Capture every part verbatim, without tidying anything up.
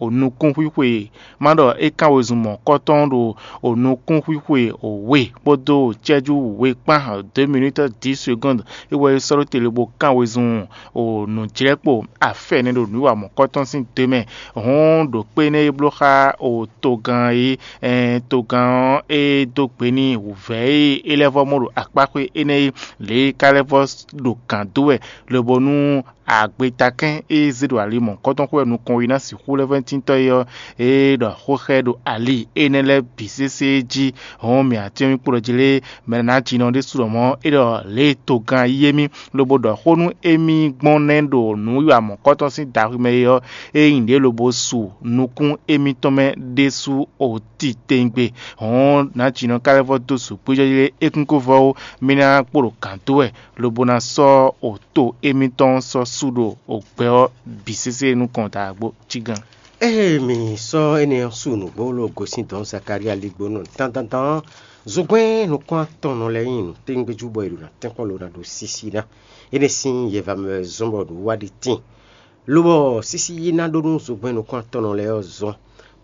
o nukúnxwíxwe, má ɖɔ é kán wezun mɔ̌kɔtɔn ɖo o nukúnxwíxwe o we kpódó cɛ́jú we kpán deux minutes dix secondes, é wɛ é sɔ́ ɖó te lobo kán wezun o nǔjlɛ́kpo afɛ nɛ́ ɖo nǔwiwa mɔ̌kɔtɔn sín do mɛ. Hɔn ɖo kpé énɛ́ e bló xá o togán é, togán ɔ́ é dó gbe n'i wǔvɛ́ e é lɛ́ vɔ́ mɔ ɖo akpáxwé énɛ́ é, lě e é ka lɛ́ vɔ́ ɖo gǎn dó wɛ, lobo nú agbetakɛ́n e zé ɖo ali mɔ̌kɔtɔn xwé wɛ nukɔn ɔ́ yi ná sixú lɛ́ vɛ́ntíntɔ́ é ɔ́, é ɖɔ xó xá ɛ ɖo ali énɛ́ lɛ́ɛ bǐ sésé jí. Hɔn mǐ atín ɔ́ mì kpo ɖɔ jí lé mɛ ná jinɔ ɖésú ɖɔ mɔ̌ é ɖɔ lě e togán yí émí lobo ɖɔ xó nú émí gbɔn nɛ́ ɖo nǔwiwa mɔ̌kɔtɔn sín daxwi mɛ é ɔ́, é nyí ɖě lobo su nukún émítɔn mɛ ɖésú o titewungbe. Hɔn nǎ jinɔ ka lɛ́ vɔ́ dó sǔgbíjɔ́jí lé é kún kó vɔ́ ó, mì ná kpo ɖo gǎn dó wɛ lobo ná sɔ́ o to émítɔn sɔ́ sú ɖo o gbɛ ɔ́ bǐ sésé nukɔn daagbó cí gán. Ée mǐ sɔ́ énɛ́ ɔ́ su nǔgbó ló gosín dɔ̌n Zakalía ligbónɔ dandandan ɔ́, zogbɛ́n nukún atɔnnɔ lɛ́ɛ nyi nǔtɛ́ngbéjú bɔ è ɖo ná tɛ́nkpɔ́n ló ná ɖó sísí ná. Énɛ́ sín yɛva mɛ wɛ zɔ́n bɔ nǔ wa ɖi tíin. Lobɔ sísí yi ná ɖó nú zogbɛ́n nukún atɔnnɔ lɛ́ɛ ɔ́ zɔ́n,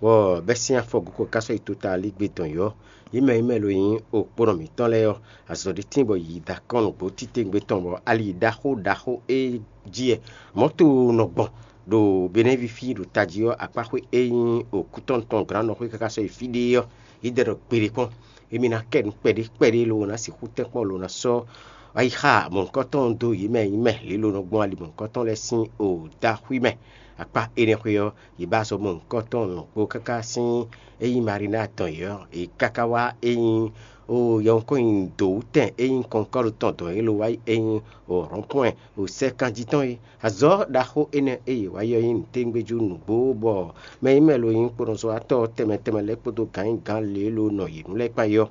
bɔ bɛ́ sín afɔ gǔ ko ká sɔ́ yi tota alígbe dɔn yɔ̌. Yě mɛ e mɛ lo nyí okponɔ mǐtɔn lɛ́ɛ ɔ́, azɔ̌ ɖé tíin bɔ yě yi da akɔ́n nǔgbó titewungbe tɔn, bɔ ali ɖaxó ɖaxó e jí wɛ mɔ̌to nɔ gbɔn ɖo Benɛ́vi fí ɖo tají ɔ́, akpáxwé e nyí okútɔ́n tɔn glǎnnɔxwé káká sɔ́ yi fí ɖé ɔ́, yě dɛ ɖɔ gbeɖé kpɔ́n. Émí ná kɛ nǔ kpɛɖé kpɛɖé lo ná sixú tɛ́nkpɔ́n lo ná sɔ́ ayixa mɔ̌hunkɔtɔn dó yě mɛ e nyí mɛ lě lo nɔ gbɔn ali mɔ̌hunkɔtɔn lɛ́ɛ sín o dó axwí mɛ. Akpá énɛ́ xwé ɔ́, yě ba azɔ̌ mɔ̌hunkɔtɔn lɔ̌nkpó káká sín e nyí Marina tɔn yě ɔ́, yě káká wá e nyí o yɛhwenkɔ́nnyidǒwútɛn e nyí Kɔnkɔ́lu tɔn dɔn yě lo wá yi e nyí o Rɔ̌npɔ́ɛn o sɛ́ kanjí tɔn é. Azɔ̌ ɖaxó énɛ́ e yě wa yi ɔ́ nyí nǔtɛ́ngbéjú nǔgbó, bɔ mɛ e nyí mɛ lo nyí kponɔzɔ́watɔ́ tɛnmɛ tɛnmɛ lɛ́ɛ kpódó gǎnyigán lě e lo nɔ yě nu lɛ́ɛ kpán é ɔ́,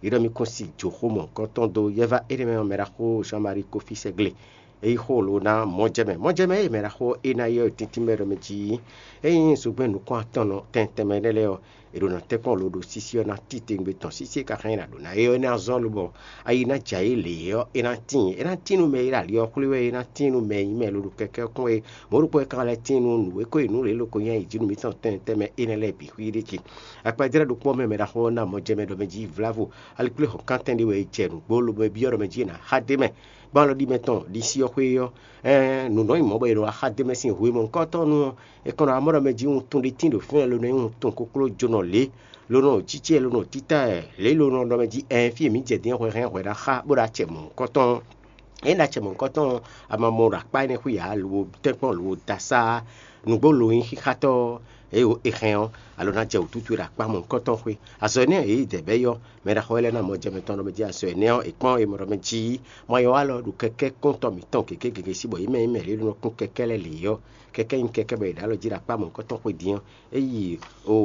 yě ɖɔ mì kún si jǒxo mɔ̌hunkɔtɔn dó. Yɛ́vá énɛ́ mɛ ɔ́, mɛ ɖaxó Jean-Marie Kofi Sɛgle, é yí xó lo ná mɔjɛmɛ. Mɔjɛmɛ e mɛ ɖaxó é ná yi ɔ́, tíntín mɛ ɖɔ mɛ jí é nyí zogbɛ́n nukún atɔn tɛn tɛnmɛ énɛ́ lɛ́ɛ ɔ́, è ɖo nǎ tɛ́nkpɔ́n lo ɖo sísí ɔ́ ná titewungbe tɔn. Sísí e ka hɛn nyi nǎ ɖo ná é ɔ́, é ná zɔ́n lobɔ ayi ná jɛ ayǐ lě ɔ́, é ná tíin. É ná tíin nú mɛ e ɖo ali ɔ́ xwlé wɛ, é ná tíin nú mɛ e nyí mɛ loɖo kɛkɛ́ kpɔ́n é. Mɔ̌ ɖokpó e ka lɛ́ tíin nú nǔ e ko yi nǔ lě loko nyi ayǐjínú mǐtɔn tɛnmɛ tɛnmɛ énɛ́ lɛ́ɛ bǐ xwíí ɖ'é jí. Akpajlɛ́ ɖokpó ɔ́ mɛ mɛ ɖaxó ɔ́ ná mɔjɛmɛ ɖɔ mɛ jí vlávo, aliklúhɔn kántɛn ɖé wɛ è jɛ nǔgbó, lobo é byɔ́ ɖɔ mɛ jí è nǎ xá d'é mɛ. Gbɔn alɔ ɖi mɛ tɔn ɖi sí ɔ́ xwé ɔ́, ɛɛn nǔ nɔ nyi mɔ̌ bɔ è nɔ wá xá d'é mɛ sín hwemɔ̌hunkɔtɔn nu ɔ́, è kɔn nɔ wá mɔ ɖɔ mɛ jí wuntun ɖé tíin ɖo fínɛ́, lo nɔ nyí wuntun koklójónɔ lě, lo nɔ cícé, lo nɔ títá ɛ lě, lo nɔ ɖɔ mɛ jí ɛɛn fí e mǐ jɛ din ɔ́ hwɛhɛn hwɛ ná xá bó ɖo acɛ mɔ̌hunkɔtɔn ɔ́. Ényí ɖo acɛ mɔ̌hunkɔtɔn ɔ́, a ma mɔ ɖo akpá énɛ́ xwí ǎ, lo tɛ́nkpɔ́n lo da sá nǔgbó lo nyí xíxátɔ́ ɔ́, eye è hɛn ɔ́, alo ná jɛ wǔtútú e ɖo akpá mɔ̌hunkɔtɔn xwé. Azɔ̌ énɛ́ e yě dɛ bɛ́ yí ɔ́, mɛ ɖaxó lɛ́ɛ ná mɔ jɛ mɛtɔn ɖɔ mɛ jí azɔ̌ énɛ́ ɔ́, è kpɔ́n e mɔ ɖɔ mɛ jí mɔ yɔ wá lɔ ɖo kɛkɛ́ kúntɔ́ mǐtɔn gěgé gěgé sí bɔ yě mɛ nyí mɛ lě e nɔ kún kɛkɛ́ lɛ́ɛ lě ɔ́, kɛkɛ́ nyí kɛkɛ́ bɔ è ɖǒ alɔ jí ɖo akpá mɔ̌hunkɔtɔn xwé din ɔ́, é yi o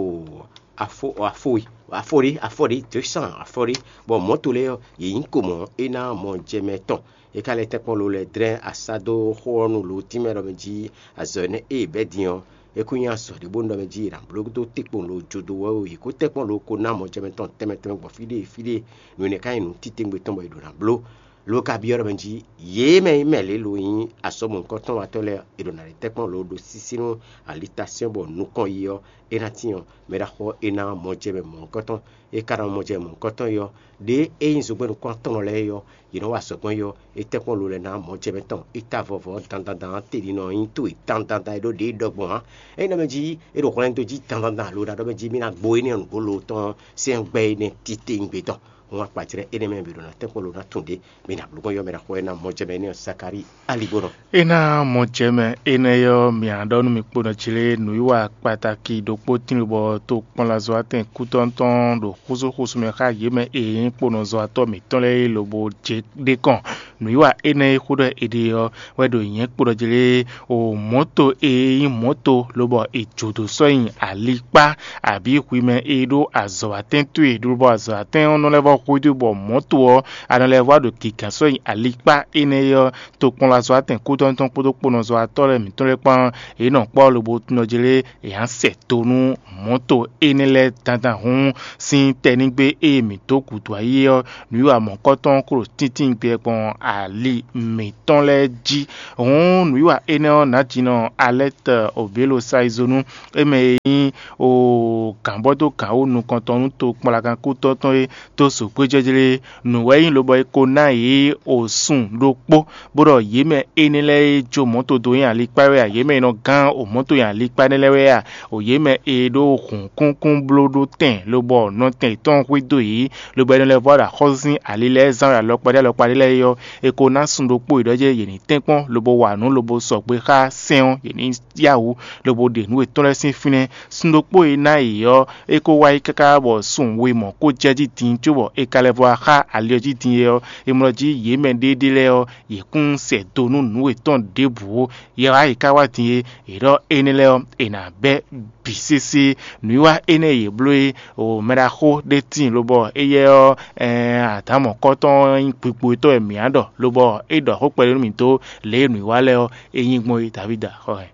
afo afo e afo ɖé afo ɖé deux cent afo ɖé, bɔ mɔ̌to lɛ́ɛ ɔ́, yě nyí ko mɔ̌ é ná mɔ jɛ mɛ tɔn. É ka lɛ́ tɛ́nkpɔ́n lo lɛ́ dlɛ́n asá dó xó ɔ́ nu lo tínmɛ ɖɔ mɛ jí azɔ̌ énɛ́ e è bɛ́ din ɔ́, é kún nyí azɔ̌ ɖé bónú ɖɔ mɛ jí è nǎ bló dó tɛ́nkpɔ́n lo jó dó wɛ ó, yě kó tɛ́nkpɔ́n lo ko ná mɔ jɛ mɛ tɔn tɛnmɛ tɛnmɛ gbɔn fí ɖé fí ɖé. Nǔ énɛ́ ka nyí nǔ titewungbe tɔn bɔ è ɖǒ ná bló. Lo ka byɔ́ ɖɔ mɛ jí yě mɛ nyí mɛ lě lo nyí azɔ̌ mɔ̌hunkɔtɔn watɔ́ lɛ́ɛ, è ɖǒ ná ɖe tɛ́nkpɔ́n lo ɖo sísí nú alitasɛ́n bɔ nukɔn yi ɔ́, é ná tín ɔ́, mɛ ɖaxó ɔ́ é ná mɔ jɛ mɛ mɔ̌hunkɔtɔn. É ka ná mɔ jɛ mɔ̌hunkɔtɔn yi ɔ́, ɖě é nyí zogbɛ́n nukún atɔnnɔ lɛ́ɛ é ɔ́, yě nɔ wa azɔ̌ gbɔn yi ɔ́, é tɛ́nkpɔ́n lo lɛ́ɛ ná mɔ jɛ mɛ tɔn. É ta vɔvɔ dandandan ɔ́, te ɖi nɔ nyí towe dandandan e ɖó ɖě ɖɔ gbɔn ǎ. É nɔ mɛ jí é ɖo hwlɛ́n dó jí dandandan alo ɖaɖɔ mɛ jí mì ná gbo énɛ́ nǔgbó lo tɔn sɛ́n gbɛ énɛ́ titewungbe tɔn. Hɔn akpajlɛ́ énɛ́ mɛ bǐ ɖo ná tɛ́nkpɔ́n lo ná tunwun ɖě. Mi ná bló gbɔn yɔ mɛ ɖaxó ɔ́ ná mɔ jɛ mɛ énɛ́ ɔ́, Zakalíi aligbonɔ. É ná mɔ jɛ mɛ énɛ́ ɔ́, mǐ á ɖɔ nú mi kponɔ jí lé nǔwiwa kpataki ɖokpó tíin bɔ tokpɔnlazɔ́watɛn kútɔ́ntɔn ɖo xúsúxúsú mɛ xá yě mɛ e nyí kponɔzɔ́watɔ́ mǐtɔn lɛ́ɛ é lobo jɛ ɖ'é kɔn. Nǔwiwa énɛ́ e xó ɖɔ è ɖe ɔ́ wɛ ɖo nyɛ̌ kpo ɖɔ jí lé o mɔ̌to e nyí mɔ̌to lobɔ è jǒ dó sɔ́ nyi alikpá, abǐ hwi mɛ e ɖó azɔ̌watɛn towe lobɔ azɔ̌watɛn ɔ́ nɔ lɛ́ vɔ́ xwedó bɔ mɔ̌to ɔ́ a nɔ lɛ́ vɔ́ ɖo gǐgán sɔ́ nyi alikpá énɛ́ ɔ́, tokpɔnlazɔ́watɛn kútɔ́ntɔn kpódó kponɔzɔ́watɔ́ lɛ́ɛ mǐtɔn lɛ́ɛ kpán, yě nɔ kpɔ́ lobo tunɔ jí lé è nǎ sɛ do nú mɔ̌to énɛ́ lɛ́ɛ dandan hǔn sín tɛnígbe e mǐ dó gǔdo ayé ɔ́, nǔwiwa mɔ̌kɔtɔn klo tíntín gbɛ gbɔn ali mǐtɔn lɛ́ɛ jí. Hǔn nǔwiwa énɛ́ ɔ́, nǎjínɔ Alɛ́tɛ Obělo Saizonu, é mɛ e nyí o gǎnbɔ́dó gǎn wú nukɔntɔn nú tokpɔnlagankútɔ́ tɔn e dó zǒgbéjɛ́jlé nǔ wɛ é nyí lobɔ è ko ná yě o sun ɖokpó, bó ɖɔ yě mɛ énɛ́ lɛ́ɛ e jó mɔ̌ to dó nyi alikpá wɛ a, yě mɛ e nɔ gán o mɔ̌ to nyi alikpá énɛ́ lɛ́ɛ wɛ a, o yě mɛ e ɖó hǔnkúnkún bló ɖó tɛn lobɔ nɔtɛn yětɔn hwedó yě, lobɔ é nɔ lɛ́ vɔ ɖo axɔ́sú sín ali lɛ́ɛ zán wɛ alɔkpa ɖé alɔkpa ɖé lɛ́ɛ é ɔ́, è ko ná sun ɖokpó yě ɖɔ jɛ́n yě ní tɛ́nkpɔ́n lobo wa nǔ lobo sɔgbe xá sɛ́n ɔ́, yě ní yá wǔ lobo ɖe nǔ yětɔn lɛ́ɛ sín fínɛ́. Sun ɖokpó e ná yě ɔ́, é ko wá yi káká bɔ sun we mɔ̌ ko jɛ jí din cóbɔ è ka lɛ́ vɔ wá xá ali ɔ́ jí din é ɔ́, è mlɔ jí yě mɛ ɖéɖé lɛ́ɛ ɔ́, yě kún sɛ do nú nǔ yětɔn ɖěbǔ ó. Yě wá yě ká wá din é, yě ɖɔ énɛ́ lɛ́ɛ ɔ́, è nǎ bɛ́ bǐ sésé. Nǔwiwa énɛ́ e yě bló é, o mɛɖaxó ɖé tíin lobɔ éyɛ́ ɔ́, adǎmɔ̌kɔ́tɔn ɔ́ nyí gbigbo tɔn wɛ mǐ á ɖɔ, lobɔ é ɖɔ xó kpɛɖé nú mǐ dó lě e nǔwiwa lɛ́ɛ ɔ́, é nyí gbɔn é. Davida xɔ hɛn.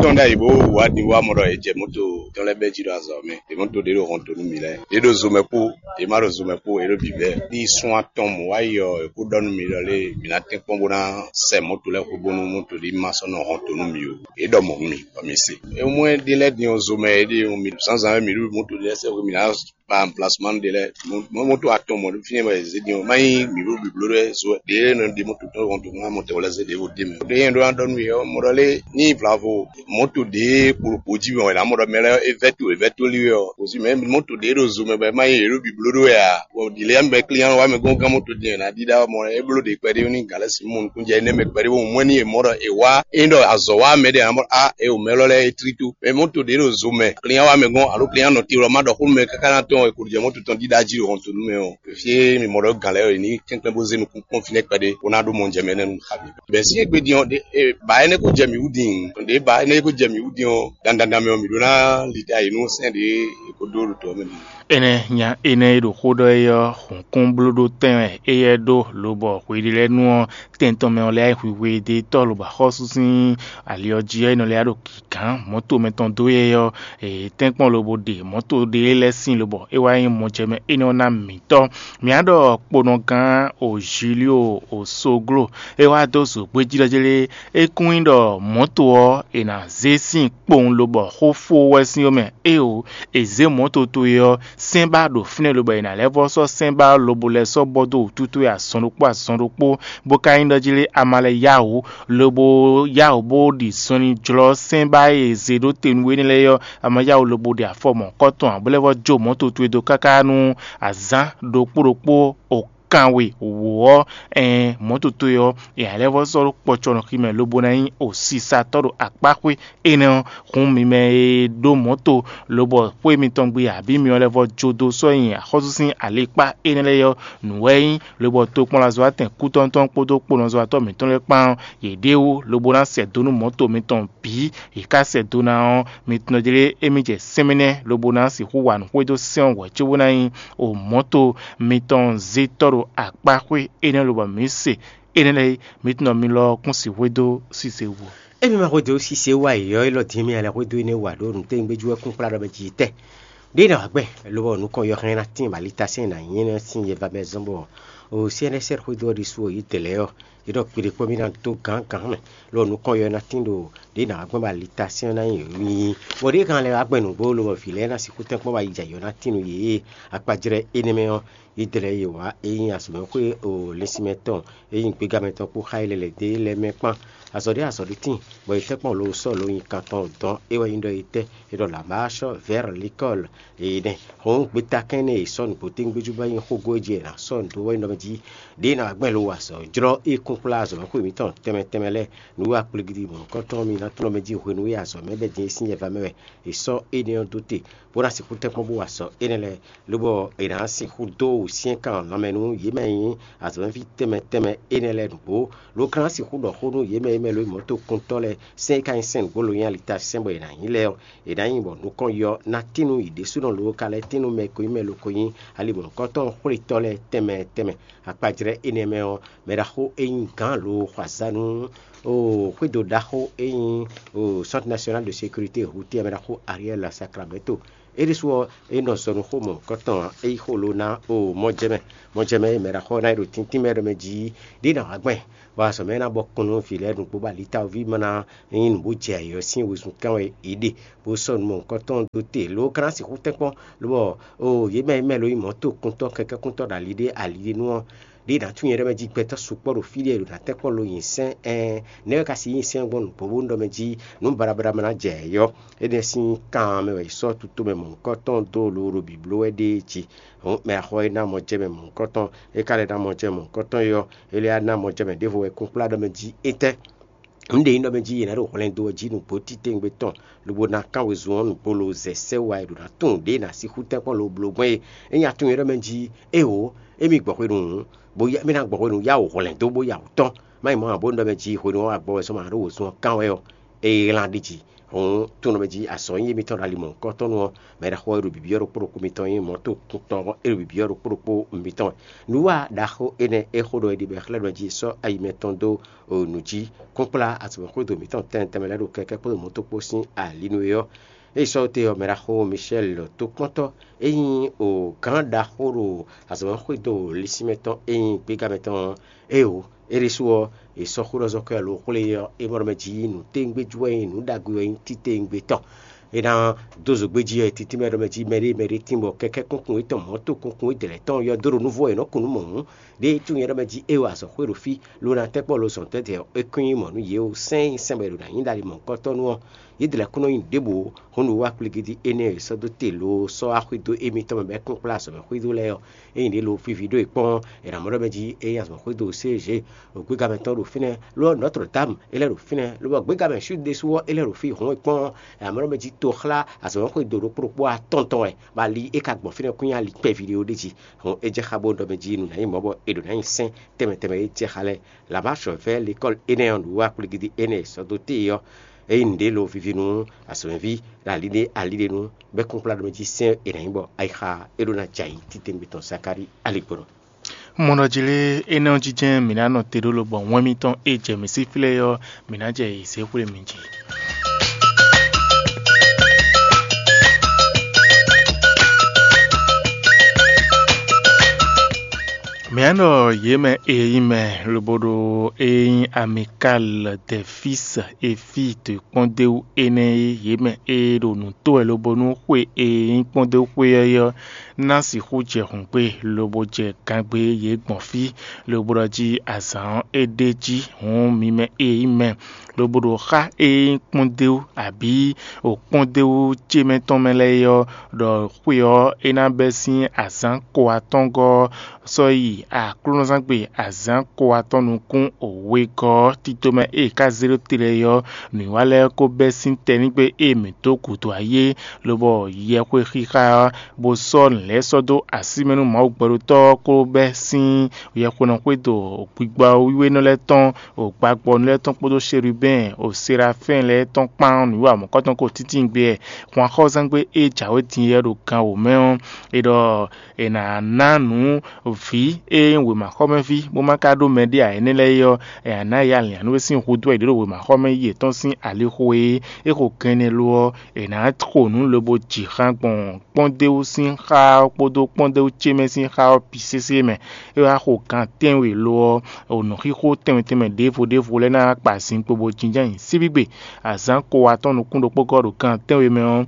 Tɔn ɖ'ayǐ bó wá ɖi wá mɔ ɖɔ è jɛ moto tɔn lɛ́ɛ bɛ́ jí ɖo azɔ̌ mɛ. È moto ɖě ɖo hɔn dó nú mǐ lɛ́ɛ. È ɖo zo mɛ kpó, è má ɖo zo mɛ kpó, è ɖo bǐbɛ́. Ní sun atɔn mɔ̌ wá yi ɔ́, è kó ɖɔ nú mǐ ɖɔ lé mǐ ná tɛ́nkpɔ́n bó ná sɛ moto lɛ́ɛ xwé bónú moto ɖé ma sɔ́ nɔ hɔn dó nú mǐ ó. È ɖɔ mɔ̌ nú mì, bɔ mǐ se. É mɔ ɛ ɖe lɛ́ɛ din ɔ́ zo mɛ é ɖe mi zǎnzǎn wɛ mǐ ɖo moto ɖé lɛ́ɛ sɛ́ xwé mǐ ná ba amplacement ɖé lɛ́ɛ. Moto atɔn mɔ̌ ɖo fínɛ́ wɛ zé din ɔ́, má nyí mǐ ɖo bǐbló ɖé zo ɖě nɔ ɖe moto tɔn hɔn dó nú amɔtɛn wɛ lɛ́ɛ zé ɖě wo ɖ'é mɛ. Ɖé nyɛ ɖó ná ɖɔ nú yě ɔ́, mɔ ɖɔ lé ní vlavo moto ɖě kplokpo jí mɛ wɛ ná mɔ ɖɔ mɛ lɛ́ɛ é vɛ́ to é vɛ́ to lí wɛ ɔ́, kò sí mɛ moto ɖě ɖo zo mɛ bɔ é má nyí yě ɖo bǐbló ɖó wɛ ǎ. Bɔ ɖi lě mɛ klín wá mɛ gɔ́n gán moto din ná ɖíɖá mɔ é bló ɖě kpɛɖé ní gǎn lɛ́ɛ sin mɔ nukúnjɛ énɛ́ mɛ kpɛɖé bó mɔ ní è mɔ ɖɔ è wá é ɖɔ azɔ̌ wá mɛ ɖé ná mɔ á é o mɛ lɔ lɛ́ɛ é tlí tó. Mɛ moto ɖě ɖo zo mɛ klín wá mɛ gɔ́n alo klín nɔ te lɔ má ɖɔ xó nú mɛ káká ná tɔn è kò ɖu jɛ moto tɔn ɖíɖá jí ɖo hɔn tó nú mɛ ɔ́. Fí e mì mɔ ɖɔ gǎn lɛ́ɛ ɔ́, è ní kɛ́nkɛ́n bó zé nukún kpɔ́n fínɛ́ kpɛɖé bó ná ɖó mɔ jɛ mɛ nɛ́ nú xá mì. Bɛ̌ sín égbé din ɔ́, ɖě ba énɛ́ ko jɛ mǐ wú din, ɖě ba énɛ́ ko jɛ mǐ wú din ɔ́, dandan mɛ ɔ́, mǐ ɖó ná li ta yi nú sɛ́n ɖě è ko dó ɖo tɔ̌ mɛ din. Énɛ́ nya énɛ́ e ɖo xó ɖɔ é ɔ́, hǔnkúnblóɖó tɛn wɛ éyɛ́ ɖó, lobɔ hweɖélɛ́nu ɔ́, tɛn tɔn mɛ ɔ́ lɛ́ wá yi hwihwe ɖe tɔ́ lobɔ axɔ́sú sín ali ɔ́ jí ɔ́, é nɔ lɛ́ wá ɖo gǐgán mɔ̌to mɛtɔn dó yɛ ɔ́, è tɛ́nkpɔ́n lobo ɖe mɔ̌to ɖé lɛ́ɛ sín lobɔ é wá nyí mɔjɛmɛ énɛ́ ɔ́ ná mǐtɔn. Mǐ á ɖɔ kponɔgán Ozilio Osoglo é wá dó zǒgbéjí ɖɔ jlé é kún nyí ɖɔ mɔ̌to ɔ́ è nǎ zé sín kpowun lobɔ xó fó wɛ sín ɔ́ mɛ. Éeǒ, è zě mɔ̌to towe ɔ́, sɛ́n ba ɖo fínɛ́ lobɔ è nǎ lɛ́ vɔ́ sɔ́ sɛ́n ba lobo lɛ́ sɔ́ bɔ dó wǔtútú e azɔn ɖokpó azɔn ɖokpó, bó ka nyí ɖɔ jí lé a ma lɛ́ yá wǔ, lobo yá wǔ bó ɖi zɔnlin jlɔ́ sɛ́n ba e è zě ɖó te nú we énɛ́ lɛ́ɛ ɔ́, a ma yá wǔ lobo ɖi afɔ mɔ̌kɔtɔn ǎ, bó lɛ́ vɔ́ jó mɔ̌to towe dó káká nú azǎn ɖokpó ɖokpó o kanwe wǒ ɔ́, ɛɛn mɔ̌to towe ɔ́, è nǎ lɛ́ vɔ́ sɔ́ ɖó kpɔcɔnɔxi mɛ lobo ná nyí osisatɔ́ ɖo akpáxwé énɛ́ ɔ́, hǔn mi mɛ e ɖó mɔ̌to lobɔ xwé mitɔn gbe abǐ mi ɔ́ lɛ́ vɔ́ jó dó sɔ́ nyi axɔ́sú sín alikpá énɛ́ lɛ́ɛ ɔ́, nǔ wɛ é nyí, lobɔ tokpɔnlazɔ́watɛn kútɔ́ntɔn kpódó kponɔzɔ́watɔ́ mǐtɔn lɛ́ɛ kpán ɔ́, yě ɖe wú lobo ná sɛ dó nú mɔ̌to mitɔn bǐ, yě ká sɛ dó ná ɔ́, mi tunɔ jlé émí jɛ sɛ́nmɛ nɛ́ lobo ná sixú wa nǔ xwedó sɛ́n ɔ́ hwɛ̌ cóbó ná nyí o mɔ̌to mitɔn zé tɔ́ ɖo akpá xwé énɛ́ lobɔ mǐ se énɛ́ lɛ́ɛ é, mi tunɔ mi lɔ ɔ́ kún sixwé dó sise wú. Emi ma xwedó sise wá yi ɔ́, élɔ́ dín mì alɛ xwedó énɛ́ wa ɖó nǔtɛ́ngbéjú wɛ kún kplá ɖɔ mɛ ji tɛ́. Ɖé nɔ agbɛ́n lobɔ nukɔn yɔhɛn ná tín bɔ alitasɛ́n ná nyí énɛ́ sín yɛ va mɛ zɔ́n bɔ o C N S R xwedó ɔ́ ɖésú ɔ́ yí dɛ̌ lɛ́ɛ ɔ́, é ɖɔ kpeɖé kpɔ́ mì ná dó gǎngǎn mɛ, lɔ nukɔn yɔ ná tín ɖo ɖě nǎ gbɛ́ bɔ alitasɛ́n ɔ́ ná nyí nyi. Bɔ ɖěe kan lɛ́ wá gbɛn nǔgbó lobɔ vǐ lɛ́ɛ ná sixú tɛ́nkpɔ́n wá yi jɛ yɔ ná tín nú yě. Akpajlɛ́ énɛ́ mɛ ɔ́, Idlɛ́ yě wá é nyí azɔ̌mɛxwé o lɛ́nsinmɛ tɔn e nyí gbégamɛ tɔn kpó xá yi lɛ́lɛ̌ dó é lɛ́ɛ mɛ kpán. Azɔ̌ ɖé azɔ̌ ɖé tíin, bɔ è tɛ́ kpɔ́n lo sɔ́ lo nyi kan tɔn dɔn é wɛ nyí ɖɔ è tɛ́ è ɖɔ lǎbá sɔ́ vɛ̌r likɔ́l. È nɛ́ hɔn gbeta kɛ́n nɛ́ è sɔ́ nǔgbó tɛ́ngbéjú bɔ é nyí xógó e jí è nǎ sɔ́ nǔ dó wɛ nyí ɖɔ mɛ jí ɖě ná gbɛn lo wa azɔ̌ jlɔ́ é kún kplá azɔ̌mɛxwé mǐtɔn tɛnmɛ tɛnmɛ lɛ́ɛ. Nǔ wa kplígídí mɔ̌hunkɔtɔn mì ná tlɔ́n mɛ jí hwenu e azɔ̌ mɛ bɛ́ din é sín yɛva mɛ wɛ è sɔ́ énɛ́ ɔ́ dó te, bó ná sixú tɛ́nkpɔ́n bó wa azɔ̌ énɛ́ lɛ́ɛ, lobɔ è nǎ sixú dó wǔsyɛ́nkan lanmɛ nú yě mɛ e nyí azɔ̌mɛví tɛnmɛ tɛnmɛ énɛ́ lɛ́ɛ nǔgbó. Lo ka ná sixú ɖɔ xó nú yě mɛ e mɛ lo nyí mɔ̌tokuntɔ́ lɛ́ɛ, sɛ́n e ka nyí sɛ́n nǔgbó lo nyí alitasɛ́n bɔ è nǎ nyí lɛ́ɛ ɔ́, è nǎ nyi bɔ nukɔn yɔ ná tín nú yě ɖésúnɔ loo ka lɛ́ tín nú mɛ e ko nyí mɛ e lo ko nyí ali mɔ̌hunkɔtɔn xwlétɔ́ lɛ́ɛ tɛnmɛ tɛnmɛ. Akpajlɛ́ énɛ́ mɛ ɔ́, mɛ ɖaxó e nyí gǎn lo xɔ azǎn nú O xwédo ɖaxó e nyí o Centre National de Sécurité Routière mɛ ɖaxó Ariel Sacramento. É ɖésú ɔ́, é nɔ zɔ nú xó mɔ̌hunkɔtɔn ǎ. É yí xó ló ná o mɔjɛmɛ. Mɔjɛmɛ e mɛ ɖaxó ɔ́ ná yi ɖo tíntín mɛ ɖɔ mɛ jí ɖé ná wá gbɛn, bɔ azɔ̌ mɛ ná bɔ kɔn nú vǐ lɛ́ɛ nǔgbó bɔ alitawoví ma ná nyí nǔ bó jɛ ayǐ ɔ́ sín wezun kán wɛ yě ɖe, bó sɔ́ nǔ mɔ̌hunkɔtɔn dó te ló ka ná sixú tɛ́nkpɔ́n, lobɔ o yě mɛ e mɛ lo nyí mɔ̌tokuntɔ́, kɛkɛ́kuntɔ́ ɖo ali ɖé ali ɖé nu ɔ́, ɖě ná tunwun nyɛ ɖɔ mɛ jí gbɛtɔ́ sukpɔ́ ɖo fí ɖé ɖo ná tɛ́nkpɔ́ lo nyi sɛ́n ɛn nɛ́ wɛ ka si nyi sɛ́n gbɔn nǔgbó bónú ɖɔ mɛ jí nǔ baɖabaɖa ma ná jɛ yɔ. Énɛ́ sín kan mɛ wɛ è sɔ́ tutomɛ mɔ̌hunkɔtɔn dó lowo ɖo bǐbló wɛ ɖéé jí. Hǔn mɛ axɔ e ná mɔ jɛ mɛ mɔ̌hunkɔtɔn, é ka lɛ́ ná mɔ jɛ mɔ̌hunkɔtɔn é ɔ́, é lɛ́ ná mɔ jɛ mɛ ɖěvo wɛ kúnkplá ɖɔ mɛ jí étɛ́? Nǔɖé nyí ɖɔ mɛ jí è nǎ ɖo hwlɛndo ɔ́ jí nǔgbó títewungbe tɔn, lobo ná kán wezun ɔ́ nǔgbó lo zɛ sɛ́ wa e ɖo ná tunwun ɖě ná sixú tɛ́nkpɔ́n lo bló gbɔn é. É nya tunwun é ɖɔ mɛ jí éwo, émí gbɔ hwenu hǔn, bó yá mí ná gbɔ hwenu yá wǒ hwlɛndo bó ya wǔ tɔn. Má nyí mɔ̌ ǎ bónú ɖɔ mɛ jí hwenu ɔ́ agbɔ wɛ sɔ́ ma ɖó wǒzun ɔ́ kán wɛ ɔ́, é lan ɖi jí. Hǔn tunwun mɛ jí azɔ̌ nyí émítɔn ɖo ali mɔ̌hunkɔtɔn nu ɔ́, mɛ ɖaxó e ɖo bǐbí ɔ́ ɖokpó ɖokpó mitɔn nyí mɔ̌to kuntɔn ɔ́, é ɖo bǐbí ɔ́ ɖokpó ɖokpó mitɔn wɛ. Nǔwa ɖaxó énɛ́ e xó ɖɔ è ɖi bɔ è xlɛ́ ɖɔ jí è sɔ́ ayi mɛtɔn dó nǔ jí kúnkplá azɔ̌mɛxwédo mǐtɔn tɛnmɛ tɛnmɛ lɛ́ɛ ɖo kɛkɛ́ kpódó mɔ̌to kpó sín ali nú é ɔ́, é yi sɔ́ te ɔ́, mɛ ɖaxó Michel tokpɔ́ntɔ́ e nyí o gǎn ɖaxó ɖo azɔ̌mɛxwédo lisínmɛ tɔn e nyí gbígbá mɛ tɔn ɔ́, éeǒ, é ɖésú ɔ́, è sɔ́ xó ɖɔ zɔ́ kɔ́ ɛ lo xwlé ɔ́, é mɔ ɖɔ mɛ jí nǔtɛ́ngbéjú wɛ nyí nǔ ɖagbe wɛ nyí títewungbe tɔn. É ná dó zǒgbé jí ɔ́, títí mɛ ɖɔ mɛ jí mɛɖé mɛɖé tínbɔ kɛkɛ́ kúnkún étɔn mɔ̌to kúnkún é dlɛ̌ tɔn yɔ dó ɖo núvɔ è nɔ́ kun nú mɔ̌ hǔn. Ɖěe tunwun nyɛ ɖɔ mɛ jí é wa azɔ̌ xwé ɖo fí, lo ná tɛ́ kpɔ́ lo zɔn tɛ́ tɛ́ ɔ́, é kún nyí mɔ̌ nú yě o sɛ́n nyi sɛn bɔ è ɖo nǎ nyi ɖali mɔ̌hunkɔtɔn nu ɔ́, yě dlɛ̌ kún nɔ nyi ɖěbǔ ó, hǔn nǔ wá kplígídí énɛ́ e è sɔ́ dó te lo sɔ́ wá xwedó émítɔn mɛ bɔ é kún kplá azɔ̌mɛ xwedó lɛ́ɛ ɔ́, ényí ɖě lo fífi ɖó è kpɔ́n ɔ́, è nǎ mɔ ɖɔ mɛ jí é nyí azɔ̌mɛ xwedó C G, ògbégamɛ tɔn ɖo fínɛ́, ló ɔ́ Notre Dame é lɛ́ ɖo fínɛ́, lobɔ gbégamɛ Sud ɖésú ɔ́ é lɛ́ ɖo fí hǔn è kpɔ́n ɔ́, è nǎ mɔ ɖɔ mɛ jí toxlá azɔ̌mɛ xwedó ɖokpó ɖokpó atɔn tɔn wɛ, bɔ ali é ka gbɔn fínɛ́ kún nyí ali kpɛví ɖé ó ɖ'é jí. Hǔn é jɛ xá bó ɖɔ mɛ jí nǔ ná nyí mɔ̌ bɔ è ɖǒ ná nyi sɛ́n tɛnmɛ tɛnmɛ e jɛ xá lɛ́ɛ. Lǎbá sɔ̌vɛ́ lekɔ́li énɛ́ ɔ́ ɖo wá kplígídí énɛ́ e sɔ́ dó téè ɔ́, ényí nǔɖé lo vivi nú azɔ̌mɛví ɖo ali ɖé ali ɖé nu, bɔ é kún kplá ɖɔ mɛ jí sɛ́n è nǎ nyí bɔ ayixa é ɖó ná jɛ ayǐ titewungbe tɔn Zakalíi aligbɔnɔ. Mɔɖɔjilé énɛ́ ɔ́ jínjɛ́n mǐ ná nɔ te ɖó lobɔ wɛn mitɔn e jɛ mǐ sí flɛ́ ɔ́, mǐ ná jɛ yě zé xwlé mi jí. Mǐ nɔ yě mɛ e nyí mɛ lobo ɖo e nyí Amicale de Fils et Filles de kpɔ́ndéwú énɛ́ e yě mɛ e ɖo nǔ tó wɛ lobo nú xwe e nyí kpɔ́ndéwú xwe ɔ́ ná sixú jɛ hǔngbe lobo jɛ gangbé yě gbɔn fí, lobo ɖɔ jí azǎn ɔ́ é ɖ'é jí. Hǔn mi mɛ e nyí mɛ lobo ɖo xá e nyí kpɔ́ndéwú abǐ o kpɔ́ndéwú ce mɛ tɔn mɛ lɛ́ɛ é ɔ́, ɖɔ xwe ɔ́ é ná bɛ́ sín azǎn ko atɔ́ɔ́ngɔ́ ɔ́ sɔ́ yi aklúnɔzángbe azǎn ko atɔ́ɔ́n nukún wegɔ́ ɔ́ tito mɛ e è ká zé ɖó te lɛ́ɛ é ɔ́, nǔwiwa lɛ́ɛ ko bɛ́ sín tɛnígbe e mǐ dó gǔdo ayé, lobɔ yɛxwe xixa ɔ́, bó sɔ́ nǔ lɛ́ɛ sɔ́ dó así mɛ nú Mawu gbɛɖótɔ́ ɔ́ kó bɛ́ sín yɛxwenɔ xwedó gbigbɔ wiwénɔ lɛ́ɛ tɔn, gbagbɔnú lɛ́ɛ tɔn kpódó Sherubɛ́n, Serafɛ́n lɛ́ɛ tɔn kpán nǔwiwa mɔ̌kɔtɔn ko títí gbe wɛ. Hwanxɔ́zangbe e jǎwe din yɛ ɖo gan wǒ mɛ ɔ́, è ɖɔ è nǎ ná nǔ vǐ e nyí wěmaxɔmɛví, bó ma ka ɖó mɛɖé ǎ énɛ́ lɛ́ɛ é ɔ́, è nǎ ná yɛ alǐnnyánú e sín hudó wɛ è ɖǒ ɖo wěmaxɔmɛ yi yětɔn sín alixo é. É xo gɛn énɛ́ lo ɔ́, è nǎ xo nǔ lobo ji xan gbɔn kpɔ́ndéwú sín xá ɔ́ kpódó kpɔ́ndéwú ce mɛ sín xá ɔ́ bǐ sésé mɛ. É wá xo gan tɛ́nwe lo ɔ́, nǔxixo tɛnmɛ tɛnmɛ ɖěvo ɖěvo lɛ́ɛ ná kpa zinkpo bó jínjɔ́n ayǐ síbígbe. Azǎn ko atɔ́ɔ́n nukún ɖokpó gɔ́ ɖo gan tɛ́nwe mɛ ɔ́,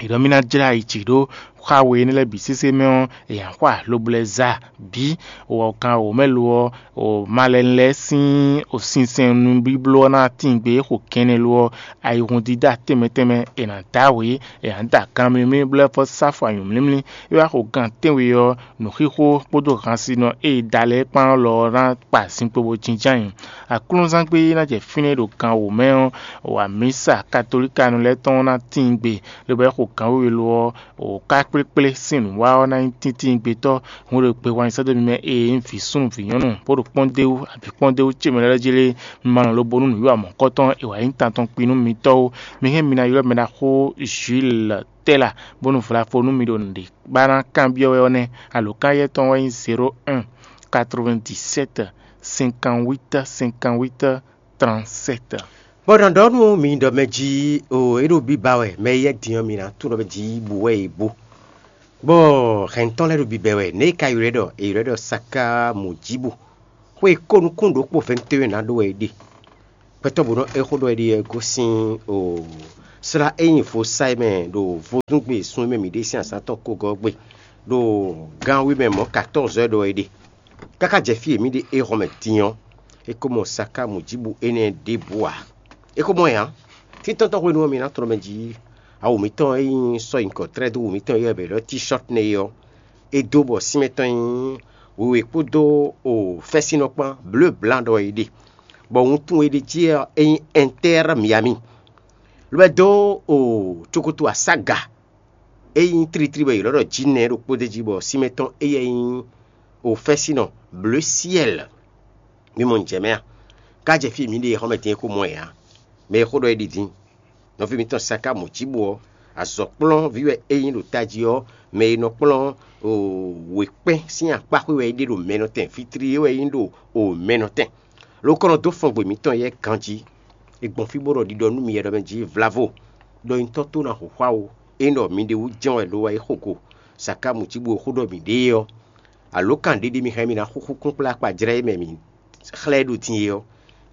è ɖɔ mì ná jlá yi jǐ ɖó xá we énɛ́ lɛ́ɛ bǐ sésé mɛ ɔ́, è nǎ xwa lobo lɛ́ za bǐ. Wɔkan wǒ mɛ lo ɔ́, o malɛnu lɛ́ɛ sín o sinsɛn nubíbló ɔ́ ná tíin gbe xo kɛnɛ lo ɔ́, ayihun dídá tɛnmɛ tɛnmɛ è nǎ dá wě, è nǎ da gan mlímlí blɛ́ fɔ sáfɔ anyǔmlímlí. É wá xo gan tɛ́nwe ɔ́, nǔxixo kpódó hansinɔ e è da lɛ́ɛ kpán lɔ ɔ́ ná kpa zinkpo bó jínjɔ́n ayǐ. Aklúnɔzángbe e ná jɛ fínɛ́ ɖo gan wǒ mɛ ɔ́, wǎ mísa katolíkanu lɛ́ɛ tɔn ná tíin gbe, lobo é xo gan wěwe lo ɔ́, wǒ ká kplékplé sín nǔwa ɔ́ ná nyí tíntín gbetɔ́. Hun ɖo gbe wǎn sɛ́ dó mi mɛ e nyí vǐ súnnu vǐ nyɔ́nu, bó ɖo kpɔ́ndéwú abǐ kpɔ́ndéwú ce mɛ lɛ́ɛ jlé, mi ma nɔ lobo nú nǔwiwa mɔ̌kɔtɔn e wǎ nyí tan tɔn kpin nú mitɔ́ ó. Mi hɛn mi ná ylɔ́ mɛ ɖaxó Jules Tɛ́la, bónú vlafo nú mi ɖo nǔɖé ba ná kanbyɔ́ wɛ ɔ́ nɛ́. Alǒkan yɛ́ tɔn wɛ nyí zéro un, quatre-vingt-dix-sept, cinquante-huit, cinquante-huit, trente-sept. Bɔ nǎ ɖɔ nú mi ɖɔ mɛ jí o, é ɖo biba wɛ, mɛ e yɛ din ɔ́, mi ná tunwun ɖɔ mɛ jí bú wɛ è bú. Bɔ hɛn tɔn lɛ́ɛ ɖo bibɛ wɛ, nɛ̌ è ka ylɔ́ ɛ ɖɔ? È ylɔ́ ɛ ɖɔ Saká Mujibu. Xwe e ko nukún ɖokpó vɛ̌ntéwɛn ná ɖó wɛ é ɖe. Gbɛtɔ́ bǒ nɔ́ é xó ɖɔ é ɖe ɔ́ gosín o slá e nyí vo sa é mɛ ɖo vodúngbe sun e mɛ mǐ ɖe sín azǎn tɔn kogɔ́ gbe, ɖo gan we mɛ mɔ̌ katɔ́ɔzɔ́ wɛ ɖɔ é ɖe. Káká jɛ fí e mǐ ɖe éhɔ́n mɛ din ɔ́, é ko mɔ Saká Mujibu énɛ́ ɖěbǔ ǎ. É ko mɔ ɛ ǎ. Títɔ́ntɔ́ hwenu ɔ́, mi ná tlɔ́ mɛ jí awu mǐtɔn e nyí sɔ́ nyǐkɔ tlɛ́ dó wǔ mítɔn e ylɔ́ è ɖɔ T-shirt nɛ́ é ɔ́, é dó bɔ sín mɛtɔn nyí wěwé kpódó o fɛ́sínnɔ kpán blǒ blan ɖɔ é ɖe, bɔ wuntun e ɖe jí ɔ́, é nyí Inter Miami. Lɔ ɛ dó o cokoto asága e nyí tlítlí bɔ è ylɔ́ ɖɔ Jǐnɛ ɖokpó d'é jí, bɔ sín mɛtɔn éyɛ́ nyí o fɛ́sínnɔ blǒ syɛ́l. Mi mɔ nǔ jɛ mɛ a? Ká jɛ fí e mǐ ɖe é xɔ́mɛ din é ko mɔ ɛ ǎ. Mɛ e xó ɖɔ é ɖi din. Nɔví mitɔn Saká Mujibu ɔ́, azɔ̌kplɔ́nví wɛ é nyí ɖo tají ɔ́, mɛ e nɔ kplɔ́n wěkpɛ́n sín akpáxwé wɛ é ɖe ɖo mɛnɔtɛn, vitri é wɛ é nyí ɖo mɛnɔtɛn. Ló kɔn nɔ dó fɔngbe mǐtɔn yɛ́ ganjí. È gbɔn fí bó ɖɔ ɖiɖɔ nú mi yɛ ɖɔ mɛ jí vlavo, ɖɔ nyitɔ́ tó ná hǒxwá ó, é ɖɔ mi ɖe wú jɛ́n wɛ lo wá yi xo go. Saká Mujibu e xó ɖɔ mǐ ɖe é ɔ́, alǒkan ɖé ɖé mi hɛn mi ná xúxú kúnkplá akpajlɛ́ e mɛ mǐ xlɛ́ ɖo din é ɔ́,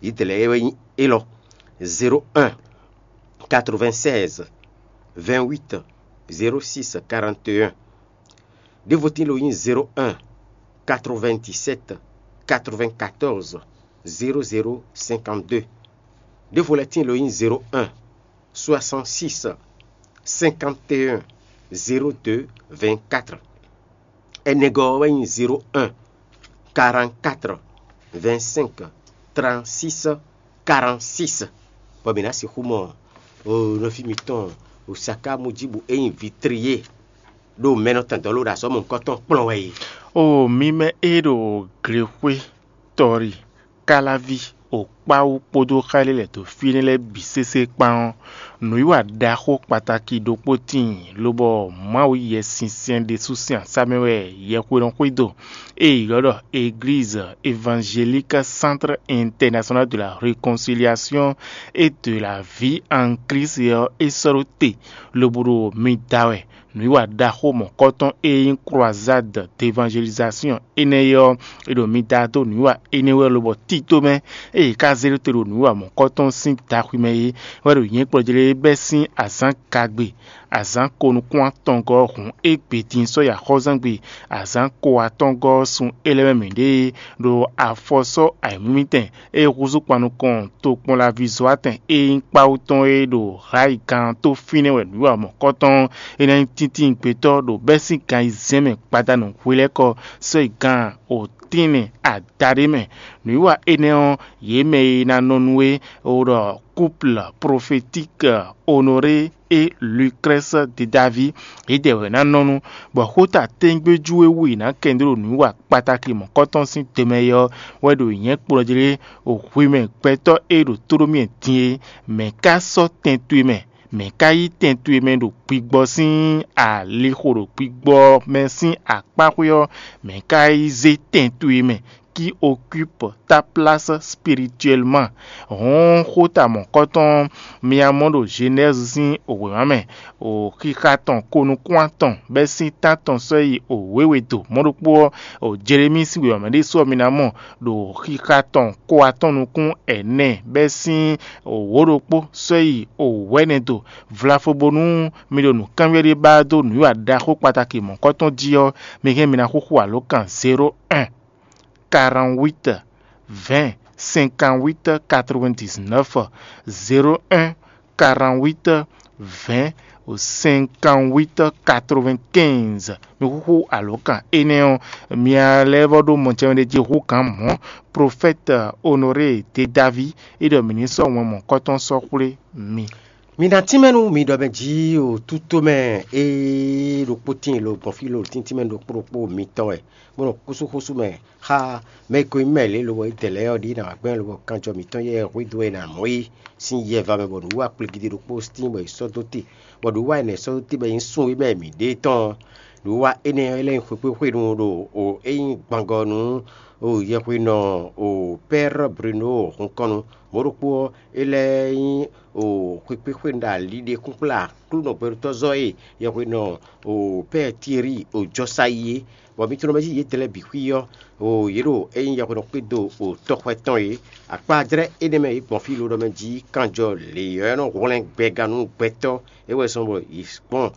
yǐdɛ̌lɛ́ é wɛ nyí élɔ́: zéro un, quatre-vingt-seize, vingt-huit, zéro six, quarante et un. Ɖěvo tín lo nyí zéro un, quatre-vingt-dix-sept, quatre-vingt-quatorze, zéro zéro, cinquante-deux. Ɖěvo lɛ́ɛ tín lo nyí zéro un, soixante-six, cinquante et un, zéro deux, vingt-quatre. Ɛnɛgɔ́ ɔ́ wɛ nyí zéro un, quarante-quatre, vingt-cinq, trente-six, quarante-six. Bɔ mǐ ná sixú mɔ nɔví mitɔn Osaka Mujibu e nyí Vitriye ɖo mɛ nɔ tɛn dɔ̌ ló ɖo azɔ̌ mɔ̌hunkɔtɔn kplɔ́n wɛ é. O mi mɛ e ɖo glexwé, tɔ́rí, káláví, okpáwú kpódó xá e lɛ́ lɛ̌ dó fí énɛ́ lɛ́ɛ bǐ sésé kpán ɔ́, nǔwiwa ɖaxó kpataki ɖokpó tíin, lobɔ Mawu Yɛsinsɛn ɖésú sín asá mɛ wɛ yɛhwe nɔ xwedó, e è ylɔ́ ɖɔ Église Évangélique Centre International de la Réconciliation et de la Vie en Christ ɔ́, é sɔ́ ɖó te, lobo ɖo mi da wɛ. Nǔwiwa ɖaxó mɔ̌kɔtɔn e nyí Croisade d'Évangélisation énɛ́ é ɔ́, è ɖo mi da dó nǔwiwa énɛ́ wɛ lobɔ tito mɛ, ée è ka zé ɖó te ɖo nǔwiwa mɔ̌kɔtɔn sín daxwi mɛ é wɛ ɖo nyɛ̌kplɔ́njlɛ́ bɛ́ sín azǎn gagbe, azǎn ko nukún atɔngɔ́ ɔ́ hǔn égbé din sɔ́ yi axɔ́zangbe, azǎn ko atɔngɔ́ ɔ́ sun é lɛ́ɛ mɛ mǐ ɖe é ɖo afɔ sɔ́ ayǐmlúmítɛn e húzú kpan nukɔn tokpɔnlaví Zoatɛn e nyí kpáwú tɔn e ɖo Hayi gán tó fínɛ́ wɛ nǔwiwa mɔ̌kɔtɔn e ná nyí tíntín gbetɔ́ ɖo bɛ́sín gan ayizɛ́n mɛ gbadanu hwelɛ́kɔ sɔ́ yi gan otínlɛn adaɖé mɛ. Nǔwiwa énɛ́ ɔ́, yě mɛ e ná nɔ nú é ɖɔ couple prophétique Honoré et Lucrèce de David, yědɛɛ wɛ ná nɔ nú, bɔ xóta tɛ́ngbéjú e wú yě ná kɛn dó ɖo nǔwiwa kpataki mɔ̌kɔtɔn sín te mɛ é ɔ́ wɛ ɖo nyɛ̌ kplɔ́njlé hwi mɛ gbɛtɔ́ e ɖo tóɖómyɛ din é. Mɛ̌ ka sɔ́ tɛn towe mɛ? Mɛ̌ ka yí tɛn towe mɛ ɖo gbigbɔ sín alixo ɖo gbigbɔ mɛ sín akpáxwé ɔ́? Mɛ̌ ka yí zé tɛn towe mɛ? Qui occupe ta place spirituellement? Hɔn xóta mɔ̌kɔtɔn mia mɔ ɖo Genèse sín wěma mɛ, o xixa tɔn ko nukún atɔn bɛ́ sín tán tɔn sɔ́ yi o wěwe do mɔ̌ ɖokpó ɔ́, o Jelemíi sín wěma mɛ ɖésú ɔ́ mi ná mɔ ɖo xixa tɔn ko atɔn nukún ɛnɛ bɛ́ sín o wǒ ɖokpó sɔ́ yi o wɛ̌nɛ do vlafo bónú mi ɖo nǔkanbyɔ́ ɖé ba dó nǔwiwa ɖaxó kpataki mɔ̌kɔtɔn jí ɔ́, mi hɛn mi ná xúxú alǒkan zéro un, quarante-huit, vingt, cinquante-huit, quatre-vingt-dix-neuf, zéro un, quarante-huit, vingt, cinquante-huit, quatre-vingt-quinze. Mi xúxú alǒkan énɛ́ ɔ́, mia lɛ́ vɔ ɖó mɔjɛmɛ ɖé jí hú gǎn mɔ̌. Profɛ́te Honoré de Davi é ɖɔ mǐ ní sɔ́ wɛn mɔ̌kɔtɔn sɔ́ xwlé mi. Mi ná tínmɛ nú mi ɖɔ mɛ jí o tútomɛ e ɖokpó tíin lo gbɔn fí lo tíntímɛ ɖokpó ɖokpó mitɔn wɛ, bó nɔ kúsú xósú mɛ xá mɛ e ko nyí mɛ lě lobɔ é dɛ lɛ́ɛ ɔ́ ɖi ná wá gbɛn lobɔ kanjɔ mǐtɔn yɛ hwedó e nǎ mɔ é sín yɛva mɛ, bɔ nǔwiwa kplígídí ɖokpó tíin bɔ è sɔ́ dó te, bɔ nǔwiwa énɛ́ sɔ́ dó te bɔ è nyí sun e mɛ mǐ ɖe tɔn ɔ́. Nǔwiwa énɛ́ ɔ́, é lɛ́ nyí xwekpéxwenu ɖo o é nyí gbangɔ nú O yɛhwenɔ o Pɛ́r Bruno hunkɔnnu, mɔ̌ ɖokpó ɔ́, é lɛ́ɛ nyí o xwekpéxwenu ɖo ali ɖe kún kplá Aklúnɔ gbɛɖótɔ́zɔ́ e yɛhwenɔ o Pɛ́r Tieri o jɔ sa yi é, bɔ mitɔn mɛ jí yědɛɛ lɛ́ɛ bǐ xwí ɔ́, o yě ɖo é nyí yɛhwenɔ kpédo o tɔxwɛ tɔn é. Akpá jlɛ́ énɛ́ mɛ e gbɔn fí lodɔ mɛ jí kanjɔ lě ɔ́ nɔ hwlɛ́n gbɛgán nú gbɛtɔ́. É wɛ zɔ́n bɔ yě gbɔn